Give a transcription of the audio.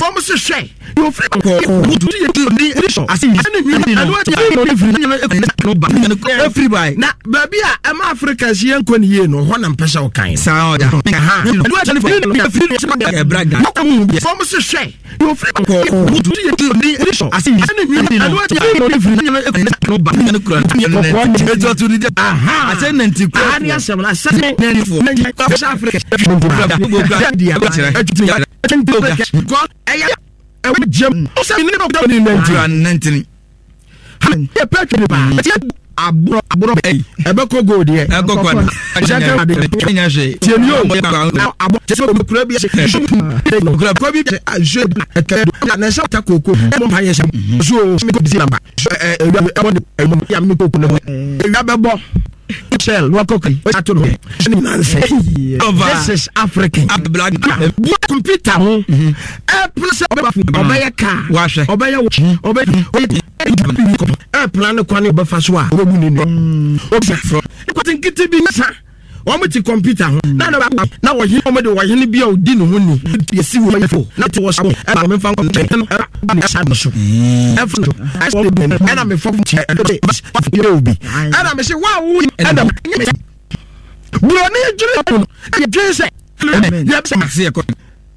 Fɔm se hwɛ deɛ ofiri kɔkɔɔ na baabi a ɛma Africa si yɛn nkɔ ne yie no hɔ na mpɛ sɛ ɔkan. Fɔm se hwɛ deɛ ofiri kɔkɔɔ ɛyɛ ɛwɔ gyam ɔsɛ ne dɔkta ne nantini yɛ pɛ twene paa aborɔ aborɔ ɛyi ɛbɛkɔ gold yɛ ɛkɔ kɔ ɛhyɛ ade ɛnya hwee tie ni o abɔ kyɛ sɛ okura bi ɛhyɛ okura kɔ bi ɛhyɛ ɛkɛ na ɛhyɛ ta koko ɛmɔ mpa yɛ hyɛ so o mi ko bisi namba ɛ ewia ɛbɔ ne ɛmɔ ya mi koko ne ho ewia bɛbɔ shell na wakɔ kai ato no ɛne nyinaa nsɛ this is African bua computer ho ɛpla sɛ ɔbɛba fo ɔbɛyɛ car ɔbɛyɛ wɔkyi ɔbɛyɛ ɛpla ne kwan ɔbɛfa so a ɔbɛbu ne nua ɔbɛfrɔ nketenkete bi sa wɔn ti kɔmputa ho na na na wɔhene wɔn de wɔhene bi a odi ne ho ni yɛsi wɔ yɛfo na te wɔ so ɛna wɔn mfa nkɔ nkyɛn no ɛna ba ne asa no so ɛfa no ɛna mefɔ kyɛ ɛna yɛ obi ɛna mese wa wo ɛna buroni dwene no ɛyɛ dwene sɛ yɛ sɛ